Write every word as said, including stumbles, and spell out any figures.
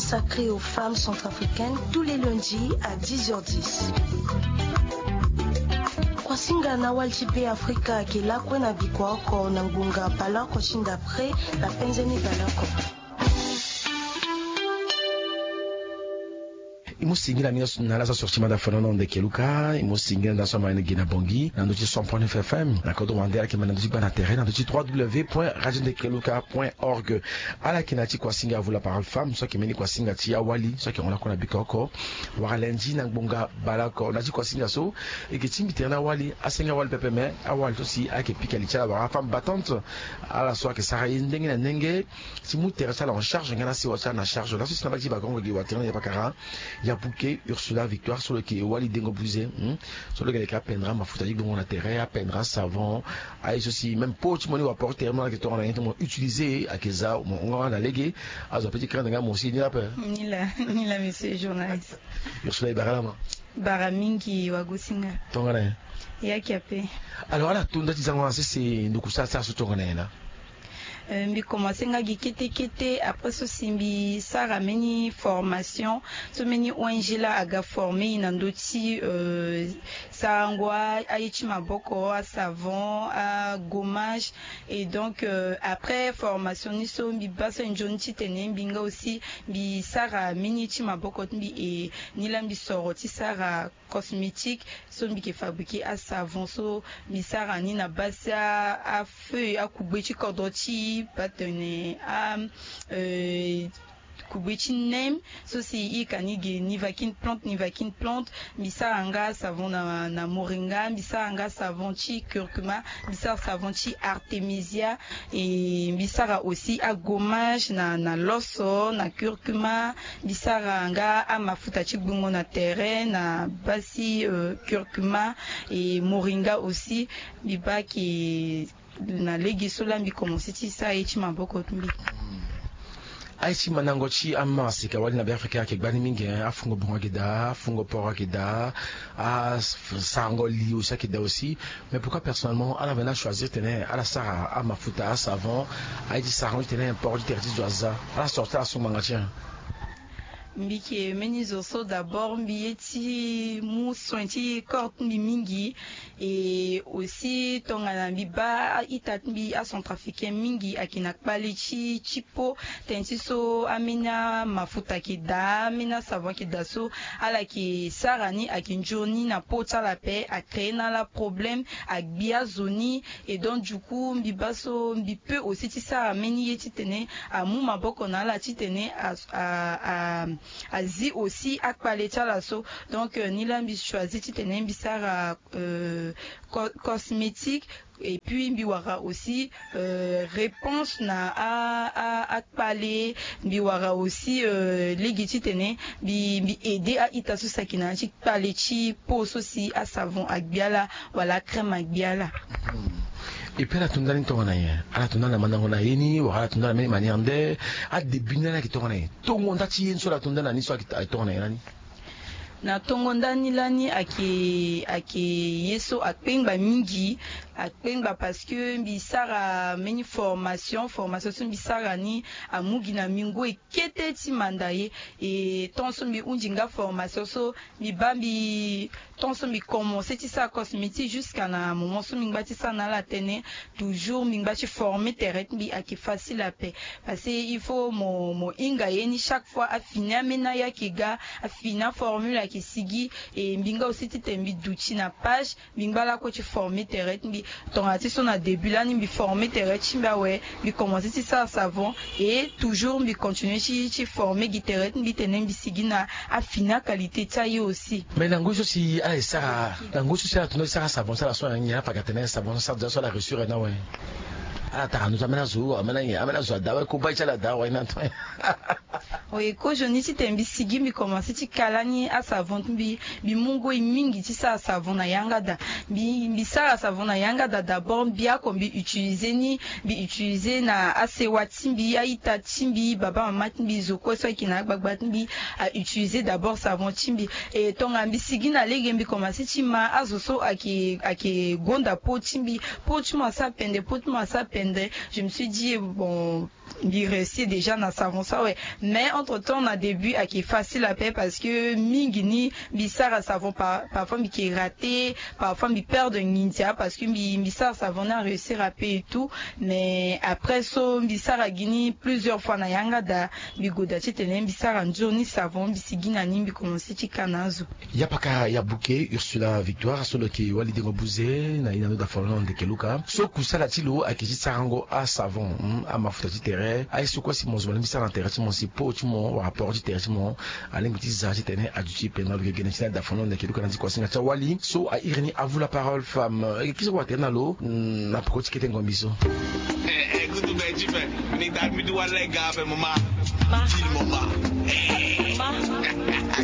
Sacré aux femmes centrafricaines tous les lundis à dix heures dix. Kuasinga na wali ti Be Afrika ayeke lakue na bikua oko na ngbonga baleoko ti ndapre na penze ni baleoko. E mu singila mingi na ala so asoro ti mada fenono ndeke luka. E mu singila nda so amani gi na bongi na ndö ti cent point neuf F M na kodro wande ala yeke ma na ndö ti gba na tere na ndö ti trois W point radio ndeke luka point org. Ala yeke na ya ti kuasinga, vous la parole femme, so ayeke mbeni kuasinga ti awali so ayeke hon lakue na bikua oko wala lendi na ngbonga baleoko. Na ya ti kuasinga so e yeke tingbi tere na awali, asenga awali pepe, me awali so si ayeke pika li ti ala wala afemme battante, ala so ayeke sara ye ndenge na ndenge ti mu tere ti ala en charge nga na sewa ti ala na charge. Laso si na mbage ti bakongo gi watene na ya pakara, ya buke Ursula Victoire so lo yeke wali dengo buze, hmm, so lo yeke leke apendre amafuta ti gbongo na tere, apendre asavon, aye so si même po ti mo ni wa porte tere mo ala yeke tongana nyen ti mo utiliser, ayeke za mo hon nga na lege. Azo ape ti craindre nga mo si ni la ape. Ni la, ni la, monsieur journaliste. Ursula, e bara lama. Bara mingi wagosinga. Tongana nyen? Ya ki ape. Alors, ala to nda ti zango na sese nduku sara sara so tongana nyen la? Euh, mbi commencé nga gi kete kete, après so si mbi sara mbeni formation so mbeni O N G la aga former e na ndö ti, euh, sarango a, aye ti maboko, asavon, agommage. Et donc, euh, après formation ni so mbi baa so e nzoni titene mbi nga aussi mbi sara mbeni ye ti maboko ti mbi. E ni la mbi soro ti sara cosmétique so mbi yeke fabriquer asavon so mbi sara ni na base ti a, afeuille, akugbe ti kodro ti baa tene a, euh, kugbe ti nem so si e yeke ni ge nivaquine plante, nivaquine plante. Mbi sara nga savon na, na moringa, mbi sara nga savon ti curcuma, mbi sara savon ti artemisia. E mbi sara aussi agommage na, na loso, na curcuma. Mbi sara nga amafuta ti gbongo na tere na base ti, euh, curcuma et moringa aussi. Mbi baa ke na lege so la mbi commencé ti sara ye ti maboko ti mbi. Aye ti mandango ti amama sika wali na Be Afrika ayeke gbani mingi, hein. Afungo bongo ayeke daa, afungo poro ayeke daa, asarango li aussi ayeke daa aussi. Mais pourquoi personnellement ala veni achoisir tene ala sara amafuta, asavon, aye ti sarango titene poro ti tere ti zo aza? Ala soro ti ala so ngbanga ti en? Mbi yeke mbeni zo so d'abord mbi ye ti mu soin ti corps ti mbi mingi. Et aussi tongana mbi baa a-ita ti mbi acentrafricain mingi ayeke na kpale ti, ti peau. Tënë ti so ambeni amafuta ayeke daa, ambeni asavon ayeke daa so ala yeke sara ni ayeke nzoni na peau ti ala ape, acréer na ala problème, agbi azo ni. Et donc du coup mbi baa so mbi peut aussi ti sara mbeni ye titene amu maboko na ala titene a, a, a, azi aussi akpale ti ala so. Donc, euh, ni la mbi choisir titene mbi sara, euh, co-, cosmétique. Et puis mbi wara aussi, euh, réponse na a, a, akpale. Mbi wara aussi, euh, lege titene mbi, mbi aider a-ita so si ayeke na ya ti kpale ti peau so si asavon agbi ala wala acrème agbi ala. Hmm. Et puis ala to ndani tongana nyen? Ala to ndani na mandango na ye ni wala ala to ndani na mbeni manière nde? Adébut ni lani ayeke tongana nyen? Tongo nda ti ye ni so ala to ndani na ni so ayeke tongana nyen lani? Na tongo nda ni lani ayeke, ayeke ye so akpengba mingi. Akpengba parce que mbi sara mbeni formation, formation so mbi sara ni amu gi na mingo e kete ti manda ye. E tant so mbi hunzi nga formation so mbi baa mbi, tant so mbi commencer ti sara cosmétique jusqu'à na moment so mbi ngba ti sara na ala tënë, toujours mbi ngba ti former tere ti mbi ayeke facile ape. Parce que il faut mo, mo hinga ye ni chaque fois afini ambeni aye ayeke ga, afini aformule ayeke sigi. E mbi nga aussi titene mbi duti na page, mbi ngba lakue ti former tere ti mbi. Tongana ti so na début lani mbi former tere ti mbi awe, mbi commencer ti sara savon. Et toujours mbi continuer ti, ti former gi tere ti mbi tene mbi sigi na afini aqualité ti aye aussi. Mais na ngoi so si ala e sara, na ngoi so si ala tourner ti sara savon ti ala so na nyen, ala fa ga tene savon so sara déjà so ala réussir na awe? Ala tara ndo so ambeni azo, ambeni aye, ambeni azo ada awe, kobai ti ala ada awe na. Oui, kozoni titene mbi sigi mbi commencer ti kala ni asavon ti mbi. Mbi mu ngoi mingi ti sara savon na yanga daa. Mbi, mbi sara savon na yanga daa d'abord, mbi oko mbi utiliser ni, mbi utiliser na asewa ti mbi, a-ita ti mbi, baba mama ti mbi, zo kue so ayeke na agbagba ti mbi a utiliser d'abord savon ti mbi. E tongana mbi sigi na lege mbi commencer ti ma azo so ayeke, ayeke gonda peau ti mbi, peau ti mo asara pende, peau ti mo asara pende. Nde je me suis dit bon, mbi réussir déjà na savon so awe. Mais entre temps na début ayeke facile ape parce que mingi ni mbi sara savon, parfois mbi yeke rater, parfois mbi perdre nginza parce que mbi sara savon ni aréussir ape et tout. Mais après so mbi sara gi ni plusieurs fois na yanga daa, mbi goda titene mbi sara nzoni savon, mbi sigi na ni, mbi commencer ti ka na azo. Ya paka ya buke Ursula Victoire so lo yeke wali dengo buze na ye na ndo da folo na ndeke luka so kusala ti lo ayeke ti sarango asavon, amafuta ti tere aye so kue si mo zo mo lingbi ti sara na tere ti mo si po ti mo wala poro ti tere ti mo alingbi ti za titene aduti pena lo yeke gene ti ni ada folo na ndeke luka na ndi kuasinga ti awali so airi ni avu la parole femme. Eke kisi kua tere na lo na peko ti kete ngombi so. Kutu be ti be ni ta mbi ti wala ega be mama. Ti mama.